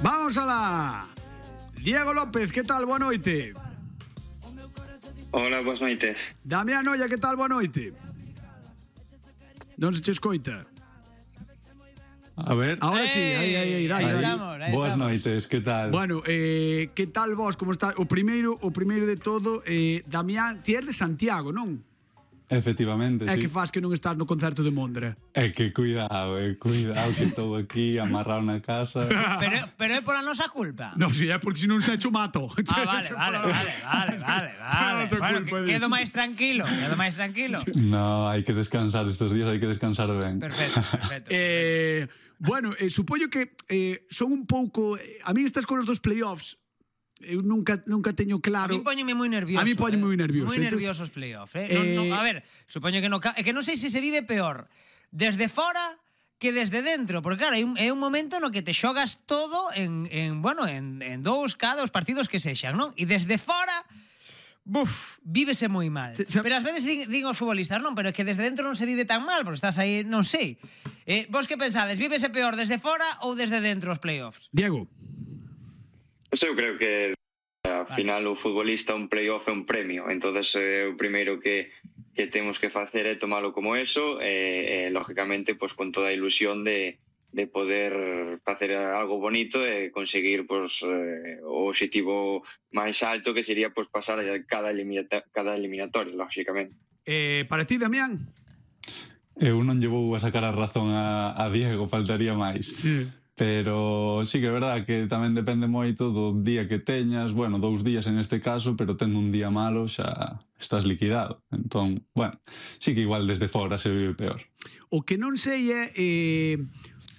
Vamos alá. Diego López, que tal? Boa noite. Hola, boas noites. Damián Noia, que tal? Boa noite. Non se che escoita. A ver. Ahora sí, aí, dai. Boas noites, que tal? Bueno, que tal vos, como está? O primeiro de todo, Damián, ti és de Santiago, non? Efectivamente, É sí. que faz que non estás no concerto de Mondra. É que cuidado que estou aquí amarrado na casa. Pero é pola nosa culpa. Non, si é porque se non se echo mato. Vale. Bueno, quedo máis tranquilo. No, hai que descansar estes días, hai que descansar ben. Perfecto. Bueno, supoño que son un pouco... A mí estas cosas dos playoffs eu nunca teño claro. A mí poñeme moi nervioso. A mí poñeme moi nervioso. Moi nervioso os playoffs, No, a ver, supoño que non sei se se vive peor desde fora que desde dentro, porque claro, é un momento no que te xogas todo en cada dos partidos que sexan, non? E desde fora vívese moi mal. Pero ás veces digo os futbolistas, non, pero é que desde dentro non se vive tan mal, porque estás aí, non sei. Vos que pensades, vívese peor desde fora ou desde dentro os playoffs? Diego. Eu creo que ao final o futbolista un playoff é un premio, entonces o primeiro que temos que facer é tomalo como eso e lógicamente pues, con toda a ilusión de poder facer algo bonito e conseguir pues, o objetivo máis alto que sería pues, pasar a cada eliminatoria, lógicamente. Para ti, Damián? Eu non lle vou a sacar a razón a Diego, faltaría máis. Sí. Pero sí que é verdad que tamén depende moito do día que teñas, 2 días en este caso, pero tendo un día malo xa estás liquidado. Entón, sí que igual desde fora se vive peor. O que non sei é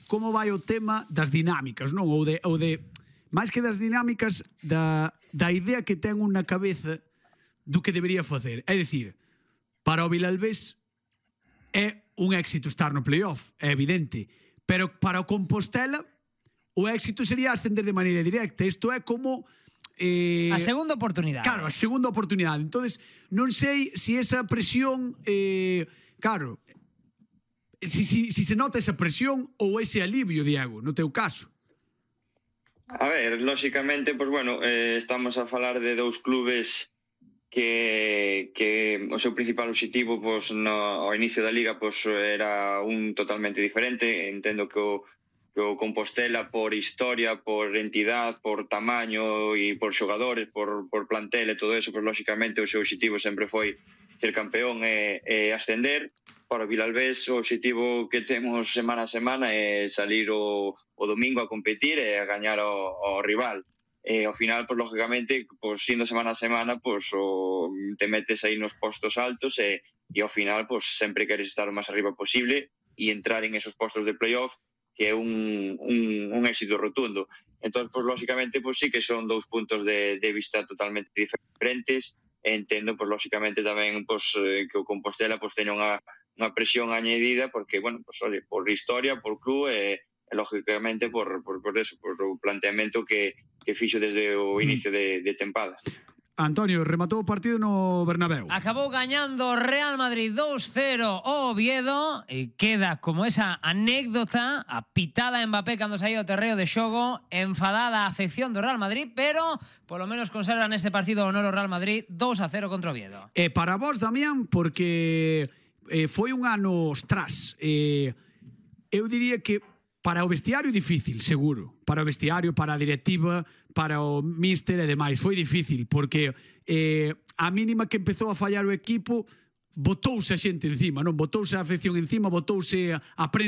como vai o tema das dinámicas, non? Ou de máis que das dinámicas da idea que ten unha cabeza do que debería facer. É dicir, para o Vilalbés é un éxito estar no playoff, é evidente. Pero para o Compostela o éxito sería ascender de maneira directa. Isto é como... a segunda oportunidade. Claro, a segunda oportunidade. Entonces, non sei se esa presión... claro, si se nota esa presión ou ese alivio, Diego, no teu caso. A ver, lógicamente, pues bueno, estamos a falar de dous clubes que o seu principal objetivo pues, ao inicio da Liga pues, era un totalmente diferente. Entendo que o Compostela por historia, por entidade, por tamaño e por xogadores, por plantel e todo eso, pues, lógicamente o seu objetivo sempre foi ser campeón e ascender. Para o Vilalbés o objetivo que temos semana a semana é salir o domingo a competir e a gañar ao rival. Ao final, pues, lógicamente, pues, siendo semana a semana, pues, te metes aí nos postos altos e ao final, pues, sempre queres estar o máis arriba posible e entrar en esos postos de playoff, que é un éxito rotundo. Entón, pues, lógicamente, pues, sí que son dous puntos de vista totalmente diferentes. Entendo, pues, lógicamente, tamén pues, que o Compostela pues, teña unha presión añadida porque, bueno, pues, oye, por historia, por club e lógicamente por eso, por o planteamento que fixo desde o inicio de tempada. Antonio, rematou o partido no Bernabéu. Acabou gañando Real Madrid 2-0 o Oviedo e queda como esa anécdota a pitada a Mbappé cando saíu ao terreo de xogo, enfadada a afección do Real Madrid, pero polo menos conserva neste partido o honor o Real Madrid 2-0 contra o Oviedo. E para vos, Damián, porque foi un ano ostras, eu diría que para o vestiario difícil, seguro. Para o vestiario, para a directiva, para o míster e demais. Foi difícil, porque a mínima que empezou a fallar o equipo, botouse a xente encima, non? Botouse a afección encima, botouse a prensa